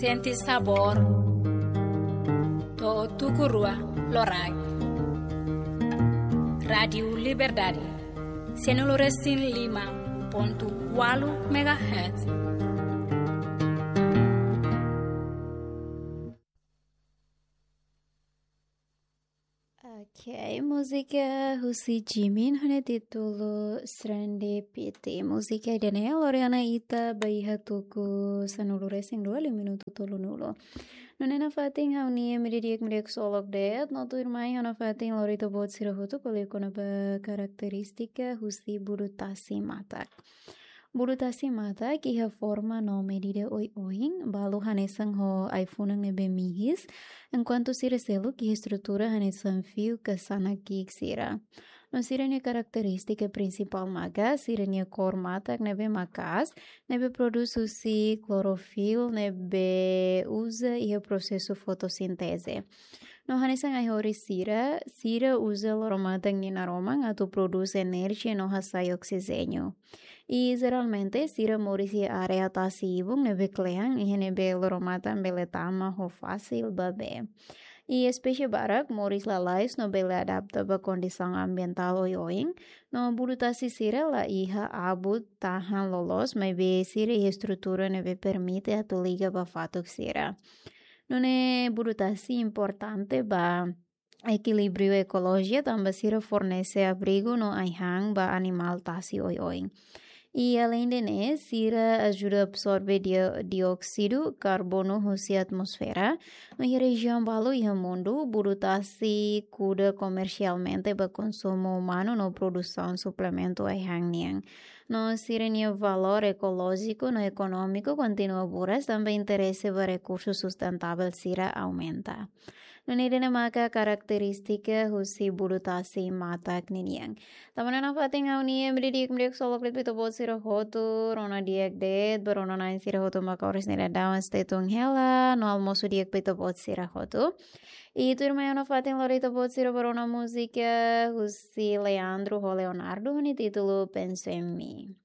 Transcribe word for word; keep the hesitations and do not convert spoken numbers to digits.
Sente sabór. To'o tuku rua loraik. Rádiu Liberdade. Sanulu resin lima pontu ualu megahertz. Ok, múzika husi Jimin ho nia títulu Serendipity. Múzika ida-ne'e lori ona ita ba iha tuku sanulu resin rua liu minutu tolunulu. Nune'e nafatin ha'u-nia imi di'ak, imi di'ak ksolok de'it, no tuirmai ha'u nafatin lori ita-boot sira hotu ko'alia kona-ba karakterístika husi budu tasi matak. Budu tasi matak iha forma no medida oioin, balu hanesan ho ai-funan ne'ebé mihis, enkuantu sira seluk iha estrutura hanesan fiu ka sanak ki'ik sira. No sira-nia karakterístika prinsipál maka sira-nia kór matak ne'ebé maka'as, ne'ebé prodús husi klorofil ne'ebé uza iha prosesu fotosínteze. No hanesan ai-horis sira, sira uza loro-matan nia naroman atu prodús enerjia no hasai oksijéniu. I jeralmente sira moris iha área tasi-ibun ne'ebé kle'an, iha ne'ebé loro-matan bele tama ho fasil ba bee. I espésie barak moris lalais no bele adapta ba kondisaun ambientál oioin, no budu tasi sira la iha abut tahan loloos, maibé sira iha estrutura ne'ebé permite atu liga ba fatuk sira. Nune'e budu tasi importante ba ekilíbriu ekolojia tanba sira fornese abrigu no ai-han ba animál tasi oioin. I aleinde ne'e, sira ajuda absorve dio-, dióksidu karbonu husi atmosfera, no iha rejiaun balu iha mundu, budu tasi kuda komersialmente ba konsumu umanu no produsaun suplementu ai-han nian. No sira-nia valór ekolójiku no ekonómiku kontinua buras tanba interese ba rekursu sustentável sira aumenta. Nune'e ida-ne'e maka karakterístika husi budu tasi matak ninian. Tanba ne'e nafatin ha'u-nia imi di'ak, imi di'ak ksolok de'it ba ita-boot sira hotu, rona di'ak de'it ba rona-na'in sira hotu maka oras ne'e daudaun sei tun hela, no almosu di'ak ba ita-boot sira hotu. I tuirmai ha'u nafatin lori ita-boot sira ba rona múzika husi Leandro ho Leonardo ho nia títulu Penso em Mim.